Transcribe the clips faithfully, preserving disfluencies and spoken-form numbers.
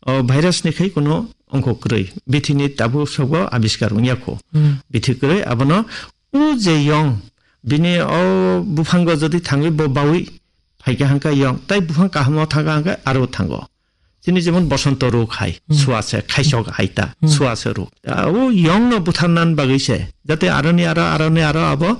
o virus ni khai kuno ongkho kwrwi. Bithi ni tabuk sobo abiskar wngya kho. Hmm. Bithi kwrwi abono o je yong bini o buphango jodi thangwi bo bawi phaikha hangkha yong, tai buphang kahamo thangkha hangkha aro thango. Chini jemon bosonto rok hai, Hmm. suase, khaisok hai ta, Hmm. suase rok. A, o yong no butharnan bagwi se, jate aroni aro, aroni aro abo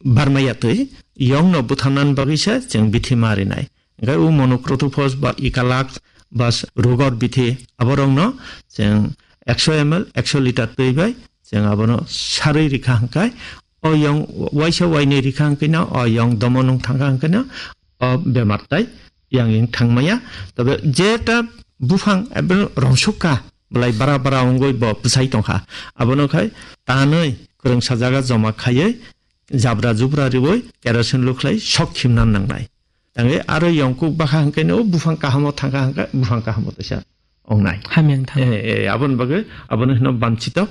barmaya twi, yong no butharnan bagwi se chwng bithi ma rinai. Hingkhe o monocrotophos ba Ecolax ba s-, rugor bithi aborokno chwng ekso M L, ekso litre twi bai chwng abono sarwi rikha hingkhe o yong waisa wainwi rikha hingkhe no o yong domo nung thangkha hingkhe no o bemar tai yang yang thangmaya. Tobe jeta buphang ebe rongsukkha, belai bara bara wngwi bo bwsai tongkha. Abono khai tanwi kwrwngsa jaga joma khaiwi jabra jubra riwi kerosene lukhlai sok khimna nangnai. Tangwi aro yongkuk bakha hwnkhe no buphang kahamo thangkha hwnkhe buphang kahamo teisa ongnai. Hamyang thang. Eh, eh, aboni bagwi, abono hino banchito,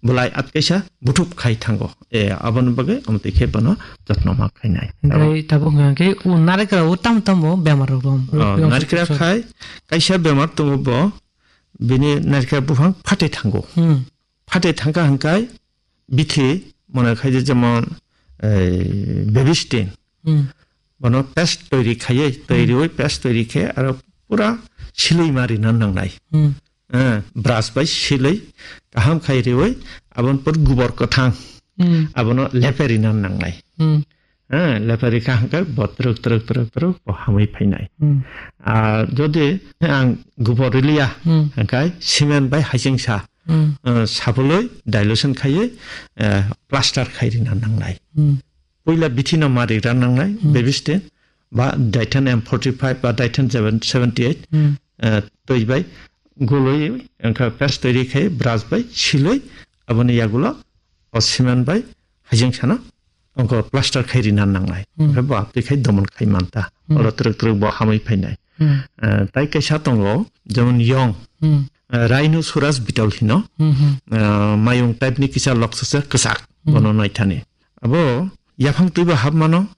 belai atkaisa butup khai thango. Eh, aboni bagwi amtwi khe bono jotno ma khainai. Hingkhe tabuk hingkhe o narikra o tam tam bo bemar rok rom. Oh, Rok narikra sok sok. Khai kaisa bemar tongo bo, bini narikra buphang phate thango. Hmm. Phate thangkha hingkhe bithi mone khai je jemon, eh, baby stain. Hmm. Bono paste toiri khaiye, toiri oi paste toiri khe aro pura siloi ma rina nangnai. Hmm. Eh, brush bai siloi kaham khai riwi abon pur gubor kwthang. Hmm. Abono lepe rina nangnai. Hmm. Eh, lepe rikha hangkhe bo truk, truk, truk, truk bo hamwi phainai. Hmm. Ah, jodi ang gubor riliya, Hmm. hangkhe cement bai hachingsa, Hmm. eh, sapuloi dilution khaiye, eh, plaster khai rina nangnai. Hmm. Puila bithi no ma rigra nangnai, Hmm. baby stain, ba Ditan M forty-five ba Ditan seven, seventy-eight, Hmm. eh, twi bai gului, wngkha paste toiri khai brush bai siloi, aboni yagulo o cement bai hajeng sana, wngkha plaster khai rina nangnai. Hmm. Wngkha bo twi khai domon khai manta. Hmm. Oro truk truk bo hamwi phainai. Hmm. Eh, tai kaisa tongo, jemon yong, Hmm. eh, rhinoceros beetle hino, Hmm, hmm. eh, mayung type ni kisa loksa se kwchak, Hmm. bono naithani. Abo yaphang twi bo hap mano,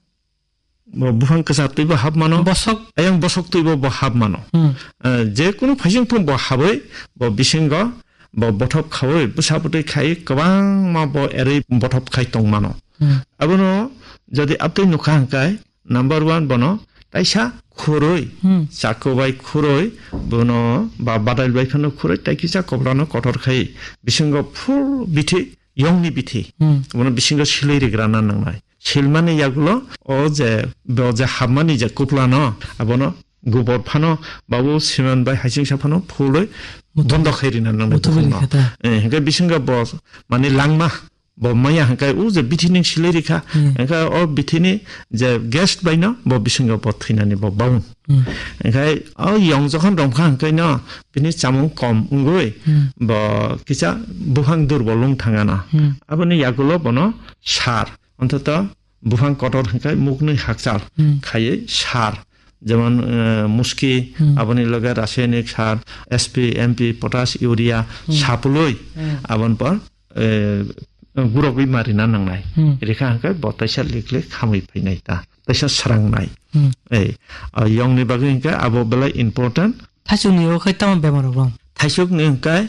bo buphang kwchar twi bo hap mano. Bosok. Ayang bosok twi bo, bo hap mano. Hmm. Eh, je kunu phaising phung bo habwi, bo bisingo, bo bothop khawi, bwsa bwtwi khai kwbangma bo erwi bothop khai tong mano. Hmm. Abono jodi abtwi nukha hwnkhe, number one bono taisa khurui, Hmm. chakku bai khurui, bono ba badal bai phano khurui, tai kisa koplano kotor khai, bisingo full bithi, yongni bithi. Hmm. Bono bisingo silui rigrana nangnai. Silmani yagulo o je, bo je hapmani je kuplano, abono gubor phano, babu cement bai hachingsa phano phulwi Mutu-, bondo khai rina nangnai mutu bukhukno. Bini khe ta. Eh, hingke bisingo bo mani langma, bo maya hingke o je bithi ning silai rikha, Hmm. hingke o bithi ni je guest bai no bo bisingo bo thwinani bo baun. Hmm. Hingke o yong jokhon romkha hingke no bini chamung kom wngwi Hmm. bo kisa buphang durbol wng thangana. Hmm. Aboni yagulo bono sar. Ontoto buphang kotor hingke muknwi hakchal Hmm. khaiwi sar. Jemon, eh, muski, Hmm. aboni loge rasayanik sar, S P, M P, potash, urea, Hmm. sapului, Hmm. aboni por, eh, gurogwi marina nangnai. Hmm. Rikha hingke bo taisa liklik hamwi phainai ta, taisa srangnai. Hmm. Ei, ah, yongni bagwi hingke abo belai important. Thaichukni o khai tamo bemar rok bang? Thaichukni hingke,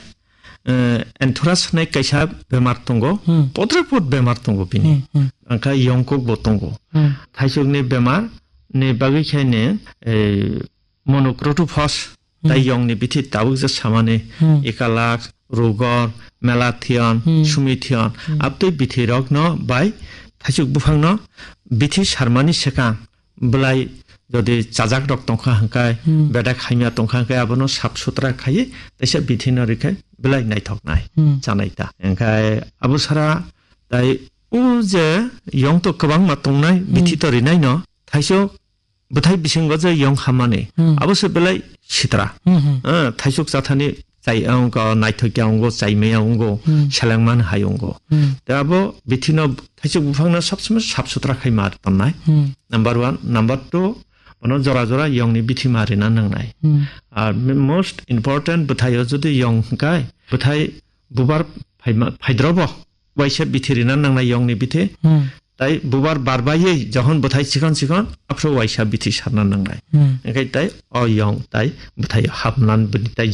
eh, anthrax hinwi kaisa bemar tongo, Hmm. potre pot bemar tongo bini. Hmm, hmm. Angkha yongkuk bo tongo. Hmm. Thaichukni bemar ni bagwi khaine, eh, monocrotophos, Hmm. tai yongni bithi tabuk je samani, Hmm. Ecolax, rugor, malathion, Hmm. sumithion, Hmm. abtwi bithi rokno bai thaichuk buphangno bithi sarmani swkang belai jodi chajak rok tongkha hingkai, Hmm. bedak hamya tongkha hingkai, abono sap sutra khaiwi teisa bithi no rikhe belai naithok nai Hmm. chanai ta. Hingkai abo sara tai o je yong to kwbangma tongnai, Hmm. bithi to rinai no, thaichuk bwthai bisingo je yong hamani, Hmm. abo se belai sitra. Hmm, hmm. Eh, thaichuk chathani chai, wngkha naithokya wngo, chaimaya wngo, Hmm. selengman hai wngo. Hmm. Te abo bithino thaichuk buphangno sab somoi sap sutra khai ma tonnai. Hmm. Number one. Number two, bono jora jora yongni bithi ma rina nangnai. Hmm. Ar mi-, most important bwthaio jodi yong hwnkhe, bwthai bubar phaima-, phaidrobo waisa bithi rina nangnai yongni bithi. Hmm. Tai bubar barbaiwi johon bwthai chikon chikon, aphuru waisa bithi sarna nangnai. Hmm. Hingkhe tai o yong tai bwthaio hapnan bini tai